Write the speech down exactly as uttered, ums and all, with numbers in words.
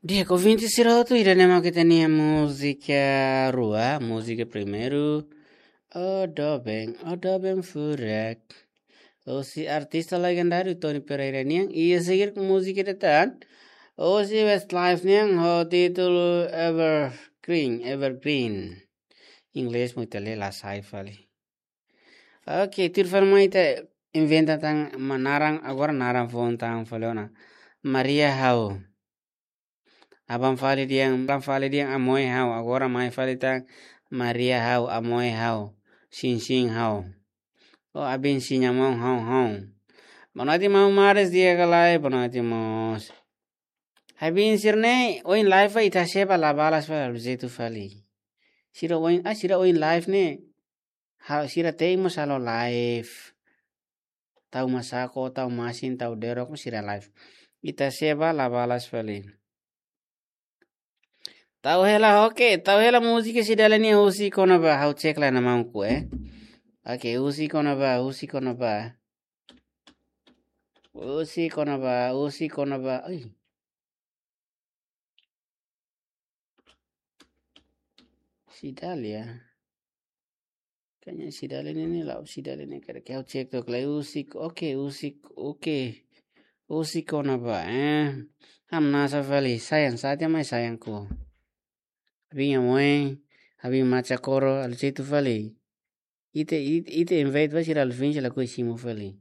Di'ak, ouvinte sira hotu, ida-ne'e mak ita-nia múzika rua, múzika primeiru, O Doben, O Doben Furak. Husi artista legendáriu Tony Pereira nian, i seguir ho múzika ida tan, husi Westlife nian, ho títulu Evergreen, Evergreen. Inglés mak ita lee la sai fali. Oke, tuir fali mai ita inventa tan, ma naran, agora naran foun tan fali ona. Maria Hau. Aban fali dehan, aban fali dehan Amoe Hau, agora mai fali tan Maria Hau, Amoe Hau, Sinsin Hau. O abin sinya mau hau hau. Boa noite, maun Mares, di'ak ka lae, boa noite mós. Abin sira-ne'e, ohin live ita seba la balas fali, jeitu fali. Sira ohin, ah, sira ohin live ne'e. Ha, sira te'in mós halo live. Tau masako, tau masin, tau derok, sira live. Ita seba la balas fali. Tau hela, oke, tau hela múzika Cidalia nian, Husik Ona Bá, ha'u cek lai iha maunku, eh. Oke, Husik Ona Bá, Husik Ona Bá. Husik Ona Bá, Husik Ona Bá. Ai. Cidalia. Kayaknya Cidalia ne'e, ne'e la'ós Cidalia ne'e, karik ha'u cek took lai. Husik, oke, Husik, oke. Husik Ona Bá, eh. Hamnasa fali, sayang, saatnya mai sayangku. Abin Amoe, abin Macha Koro, halo jeitu fali. Ita, ita, ita invite ba sira, halo finje lakohi simu fali.